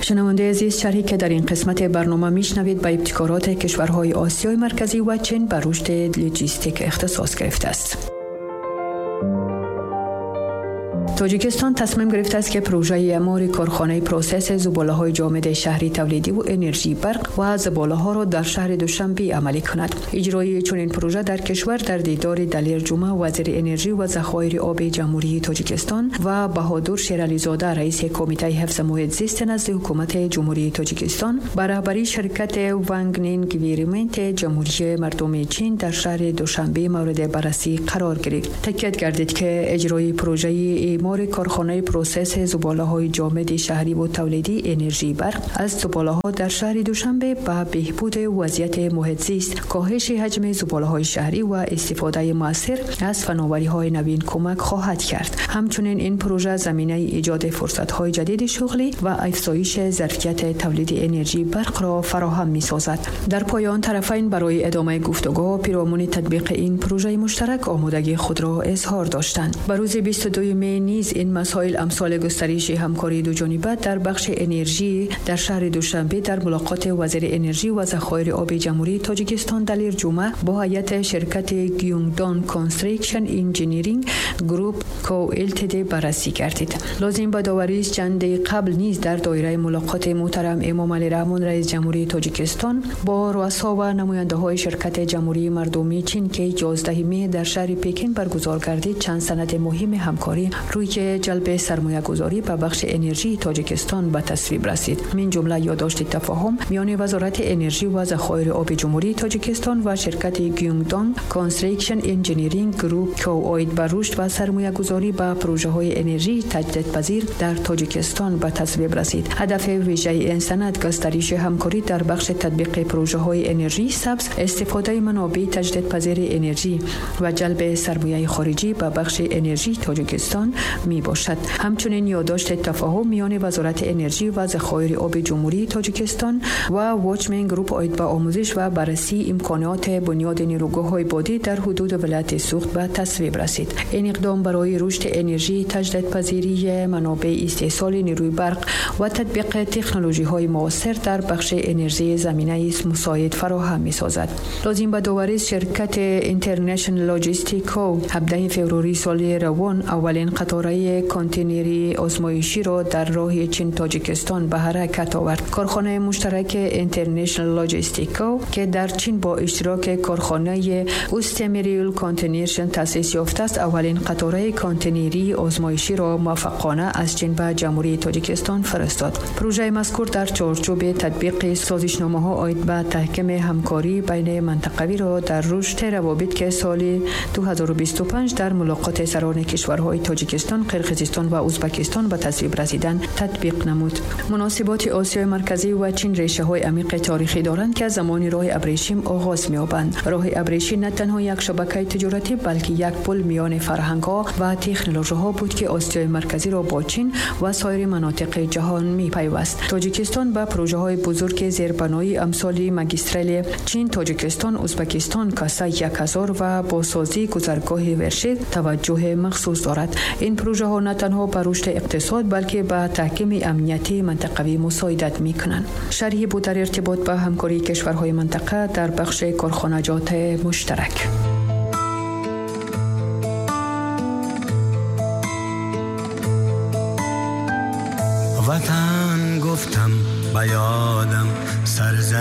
شنونده عزیز، شرحی که در این قسمت برنامه میشنوید به ابتکارات کشورهای آسیای مرکزی و چین بر رشد لوجستیک اختصاص گرفته است. تاجیکستان تصمیم گرفته است که پروژه اعمار کارخانه process زباله‌های جامد شهری تولیدی و انرژی برق و زباله‌ها را در شهر دوشنبه عملی کند. اجرای چنین پروژه در کشور در دیدار دلیر جمعه وزیر انرژی و ذخایر آب جمهوری تاجیکستان و بهادر شیرعلیزاده رئیس کمیته حفظ محیط زیست نزد حکومت جمهوری تاجیکستان به رهبری شرکت وانگنین گویرمنت جمهوری مردم چین در شهر دوشنبه مورد بررسی قرار گرفت. تاکید گردید که اجرای پروژه اعمار کارخانه process زباله‌های جامد شهری و تولیدی انرژی برق از زباله‌ها در شهر دوشنبه به بهبود وضعیت محیط زیست، کاهش حجم زباله‌های شهری و استفاده مؤثر از فناوری‌های نوین کمک خواهد کرد. همچنین این پروژه زمینه ایجاد فرصت‌های جدید شغلی و افزایش ظرفیت تولید انرژی برق را فراهم می‌سازد. در پایان طرفین برای ادامه گفتگو پیرامون تطبیق این پروژه مشترک آمادگی خود را اظهار داشتند. به روز 22 می نیز این مسائل امثال گسترش همکاری دو جانبه در بخش انرژی در شهر دوشنبه در ملاقات وزیر انرژی و ذخایر آب جمهوری تاجیکستان دلیر جمعه با هیئت شرکت گیونگدان Construction Engineering Group Co Ltd بررسی گردید. لازم به داوری است چند قبل نیز در دایره ملاقات محترم امام علی رحمان رئیس جمهوری تاجیکستان با رؤسا و نماینده‌های شرکت جمهوری مردمی چین که 11 می در شهر پکن برگزار گردید، چند سند مهم همکاری روی جلب سرمایه گذاری به بخش انرژی تاجیکستان به تصویب رسید. من جمله یادداشت تفاهم میان وزارت انرژی و ذخایر آب جمهوری تاجیکستان و شرکت گیونگدان Construction Engineering Group Co عاید به رشد و سرمایه گذاری به پروژه های انرژی تجدیدپذیر در تاجیکستان به تصویب رسید. هدف ویژه این سند گسترش همکاری در بخش تطبیق پروژه های انرژی سبز، استفاده منابع تجدیدپذیر انرژی و جلب سرمایه خارجی به بخش انرژی تاجیکستان می باشد. همچنین یادداشت تفاهم میان وزارت انرژی و ذخایر آب جمهوری تاجیکستان و واچمن گروپ عاید به آموزش و بررسی امکانات بنیاد نیروگاه‌های بادی در حدود ولایت سوخت به تصویب رسید. این اقدام برای رشد انرژی تجدیدپذیری منابع استحصال نیروی برق و تطبیق تکنولوژی‌های معاصر در بخش انرژی زمینه مساعد فراهم می‌سازد. لازم به داوری شرکت International Logistic Co 17 فوریه سال روان اولین قطاره کانتینری آزمایشی را در راه چین تاجیکستان به حرکت آورد. کارخانه مشترک International Logistic Co که در چین با اشتراک کارخانه اوستمیریل کانتینرشن تأسیس یافته است، اولین قطاره کانتینری آزمایشی را موفقانه از چین به جمهوری تاجیکستان فرستاد. پروژه مذکور در چارچوب تطبیق سازشنامه‌ها عاید به تحکیم همکاری بین منطقوی را در رشد روابط که سال 2025 در ملاقات سران کشورهای تاجیکستان، قرقیزستان و ازبکستان به تصویب رسیدن تطبیق نمود. مناسبات آسیای مرکزی و چین ریشه‌های عمیق تاریخی دارند که از زمان راه ابریشم آغاز می‌یابند. راه ابریشم نه تنها یک شبکه تجارتی بلکه یک پل میان فرهنگ‌ها و تکنولوژی‌ها بود که آسیای مرکزی را با چین و سایر مناطق جهان می‌پیوست. تاجیکستان به پروژه‌های بزرگ زیربنایی امثال مگیسترال چین، تاجیکستان، ازبکستان، کاسا 1000 و بازسازی گذرگاه ورشید توجه مخصوص دارد. این پروژه ها نه تنها به رشد اقتصاد بلکه به تحکیم امنیتی منطقوی مساعدت می کنند. شرحی بود در ارتباط با همکاری کشورهای منطقه در بخش کارخانجات مشترک. وطن گفتم به یادم سرزمین